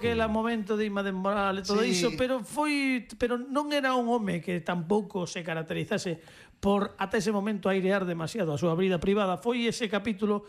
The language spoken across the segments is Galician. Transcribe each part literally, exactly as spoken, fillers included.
aquele momento de Ima de Moral e todo Sí. iso, pero foi pero non era un home que tampouco se caracterizase por ata ese momento airear demasiado a súa vida privada. Foi ese capítulo.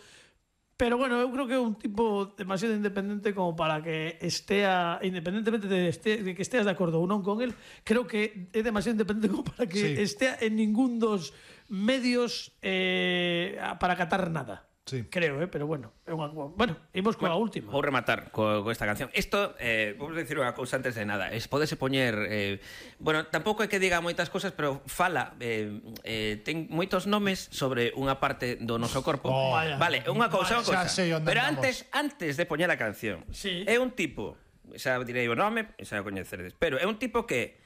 Pero bueno, eu creo que é un tipo demasiado independente como para que estea, independentemente de, este, de que esteas de acordo ou non con él, creo que é demasiado independente como para que Sí. estea en ningún dos medios eh, para catar nada. Sí. Creo, eh, pero bueno, é unha, bueno, imos coa Bueno, última. Vou rematar co, co esta canción. Isto, eh, vou dicir unha cousa antes de nada. Es, podese poñer... Eh, bueno, tampouco é que diga moitas cosas, pero fala... Eh, eh, ten moitos nomes sobre unha parte do noso corpo. Oh, vale, unha cousa, unha xa cousa. sei onde Pero andamos. antes, antes de poñer a canción, Sí. é un tipo... Xa direi o nome, xa o coñeceredes. Pero é un tipo que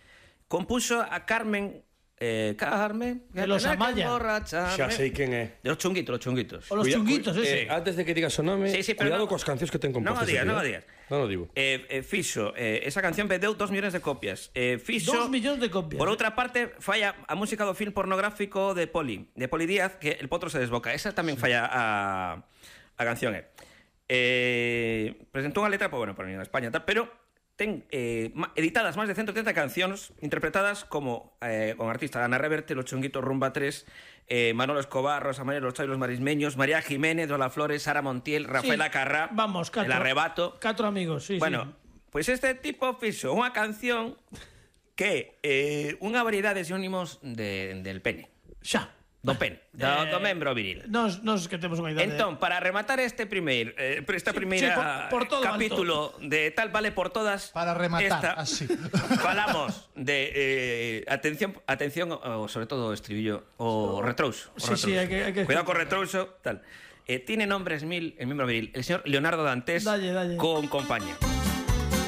compuso a Carmen... Eh, Carmen... De los Amaya. Xa sei quen é. De los chunguitos, los chunguitos. O los Cuida- chunguitos, cu- ese. eh, Antes de que digas o nome, Sí, sí, pero cuidado no- coas cancións que ten Non o compostas. digas, aquí, non o eh. digas. Non o digo. Eh, eh, fixo, eh, esa canción vendeu dos millóns de copias. Eh, fixo, Dos millóns de copias. Por outra parte, falla a música do film pornográfico de Poli, de Poli Díaz, que El potro se desboca. Esa tamén falla a, a canción, eh. Eh, presentou unha letra, pues, bueno, por en España, tal, pero ten eh, ma- editadas máis de ciento treinta cancións interpretadas como eh, con artistas Ana Reverte, Los Chunguitos, Rumba tres, eh, Manolo Escobar, Rosa María, Los Chairos Marismeños, María Jiménez, Lola Flores, Sara Montiel, Rafaela Sí, Carrá, vamos, catro, El Arrebato. Catro amigos, sí, Bueno, sí. pois pues este tipo fixo unha canción que é eh, unha variedade de sinónimos de, del pene, Xa. do pene, do, Eh, do membro viril. Nos, nos que temos unha idade. Entón, para rematar este primeiro eh, esta Sí, primeira sí, por- por todo capítulo de Tal Vale por Todas, Para rematar, esta, así. falamos de eh, atención, atención o, sobre todo o estribillo, o retrouso, o Sí, sí, retrouso. hai que- hai que- Cuidado con retrouso, tal. Eh, tiene nombres mil, el miembro viril, el señor Leonardo Dantes Dalle, dalle. con compañía.